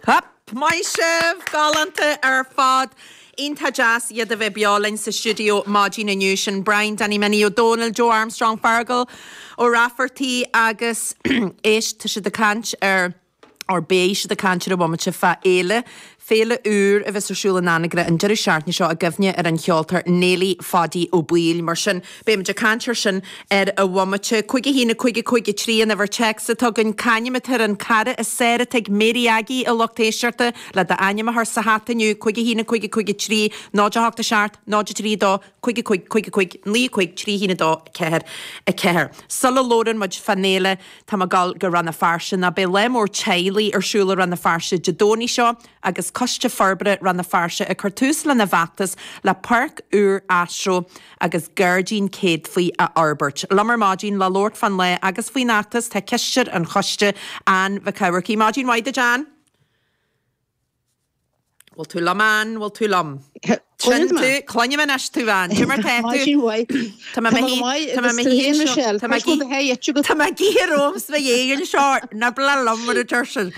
Hup! Maith sibh! Galánta ar fad! Iontach deas iad a bheith beo linn sa stiúideo maidin inniu. Sin Brian Danny Minnie Ó Dónaill, Joe Armstrong, Feargal Ó Raifeartaigh agus éist, tá siad ag caint ar, or beidh siad ag caint ar an bhomaite fá fhéile, féile úr a bheas ar siúl in Anagaire an deireadh seachtaine seo i gcuimhne ar an cheoltóir Néilí Phaidí Ó Baoill. Mar sin, beimid ag caint ar sin ar an bhomaite. 5 1 5 5 3 an uimhir téacs atá againn. C'ainm atá ar an cara is fearr atá ag Mary Aggie, a lucht éisteachta, le d'ainm a chur sa hata inniu, 5 1 5 5 3 0 8 7 0 3 2 5 5 5 5 9 5 3 1 2 4 4. Sula labhrann muid fán fhéile, tá mé ag dul go Rann na Feirste ná beidh lá mór teaghlaigh ar siúl i Rann na Feirste Dé Domhnaigh seo agus Coiste Forbartha Rann na Feirste ag cur tús lena bhfeachtas le páirc úr astro agus gairdín céadfaí a fhorbairt. Liom ar maidin le labhairt fán lá agus faoin fheachtas tá cisteoir an choiste, Ann Mhic Eamharcaigh. Maidin mhaith duit Ann! Bhfuil tú liom Ann? Bhfuil tú liom? Sin tú, cluinim anois tú Ann. Cad é mar tá tú? Maidin mhaith. Tá mé Tá mé go maith agus tú féin Michelle. Tá mé Tá mé ag ithe romham 's mo dhiaidh anseo, ná bac liom mar a deir siad.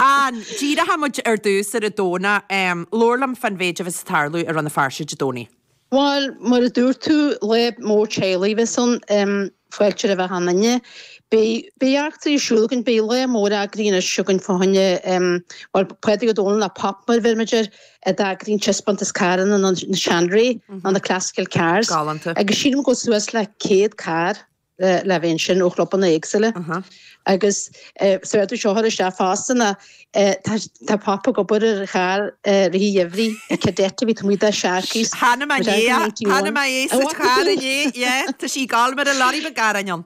Ann, díreoidh muid ar dtús ar an Domhnach. Labhair liom fán mhéid a bheas ag tarlú i Rann na Feirste Dé Domhnaigh. Bhuel, mar a dúirt tú, lá mór teaghlaigh a bheas ann, fáilte roimh achan duine. Beidh, beidh eachtraí ar siúl againn, beidh lá mór eagraithe anois againn fá choinne, bhuel, Pádraig Ó Dónaill, nó Pop mar a bheirimid air, a d'eagraigh an taispeántas carranna na seanré, nó na classical cars. Galánta. Agus sílim go bhfuil suas le 100 carr. le bheith ansin ó chlubanna éagsúla agus sa rud seo a chur isteach fosta ná tá Pop ag obair ar charr i rith an gheimhridh, Kadett a bhí taobh amuigh de Sharkies. Chonaic mé inné, chonaic mé é sa charr inné, yeah, tá sí ag gabháil mar a lorry beag garráin ann.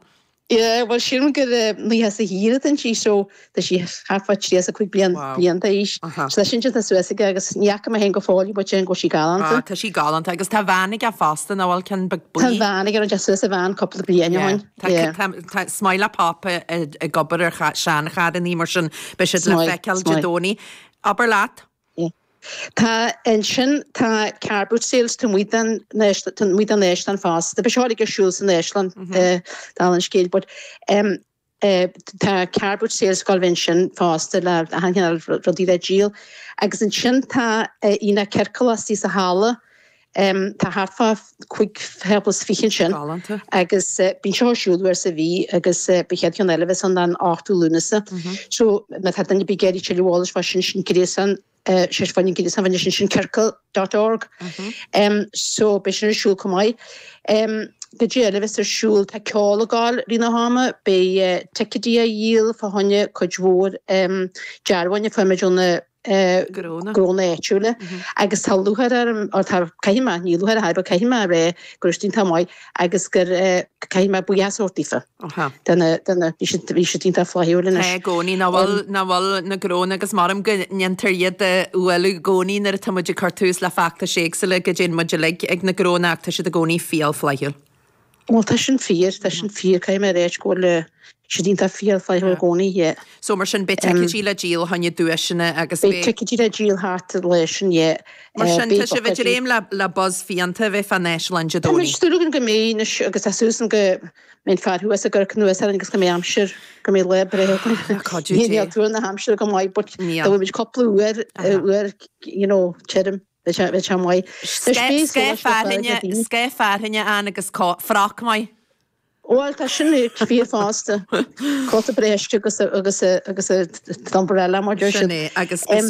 Yeah, bhuel sílim gur 90 is a thiar atá sí so tá sí thart fá 35 bliain bliain d'aois. So tá sin déanta suas aige agus ní fhaca mé féin go fóill í but déarfainn go bhfuil sí galánta. Ah, tá sí galánta agus tá veain aige fosta, nach bhfuil ceann beag buí? Tá veain aige, rinne sé suas a veain cúpla bliain ó shin. Yeah. Tá, tá, is maith le Pop ag obair ar seancharrannaí mar sin beidh siad le feiceáil Dé Domhnaigh. Abair leat. Yeah. Tá ansin tá car boot sales taobh amuigh den taobh amuigh den Áislann fosta. Beidh seo uilig ar siúl san Áislann, dála an scéil, but um, Tá car boot sales ag gabháil a bheith ansin fosta le achan chineál rudaí le díol. Agus ansin tá aonach ciorclach istigh sa halla. Tá thart fá 25 thábla ansin. Galánta. Agus bíonn seo ar siúl uair sa mhí agus an chéad cheann eile a bheas ann an 8ú Lúnasa. So má tá duine ar bith ag iarraidh tuilleadh eolais fá sin, sin gréasán sé fá an gréasán bhain sin sin ciorcal dot org. So beidh sin ar siúl chomh maith. Cad é eile a bheas ar siúl, tá ceol ag gabháil i rith na hama, beidh ticéidí á dhíol fá choinne cuid mhór dearbháin a fuair muid ó na gnónna áitiúla agus tá lúcháir orm, or tá, caithfidh mé, ní lúcháir a but caithfidh mé a rá go raibh siad iontach maith agus gur caithfidh mé buíochas a thabhairt daofa. Do na, do na, bhí siad, bhí siad iontach flaithiúil anois. Tá i gcónaí, nach bhfuil, nach bhfuil na gnónna agus maram go ndéantar iad a bhualadh i gcónaí nuair atá muid ag cur tús le feachtais éagsúla go dtéann muid uilig ag na gnónna ach tá siad i gcónaí fial flaithiúil. Bhuel tá sin fíor, tá sin fíor, caithfidh mé a ráit go bhfuil siad iontach fial flaithiúil i gcónaí, yeah. So mar sin beidh ticéidí le díol fá choinne duaiseanna agus beidh. Beidh ticéidí le díol thart an lá sin, yeah. Mar sin tá sibh ag dréim le le buzz fiánta a bheith fán Áislann Dé Tá muid Domhnaigh. súil againn go mbeidh anois agus tá súil againn go mbeidh an fear thuas ag amharc anuas orainn agus go mbeidh aimsir, go mbeidh lá breá againn. Le cuidiú Dé. Níl tuar na haimsire go maith but Níl. dá bhfuil muid cúpla uair, uair you know, tirim, bheadh sé, bheadh sé maith. Anois beidh Scáth solas le fáil ag na daoine. Scáth fearthainne ann agus froc maith. Bhuel, tá sin fíor fosta. Cóta breise agus agus agus umbrella mar deir siad. Sin é, agus beidh.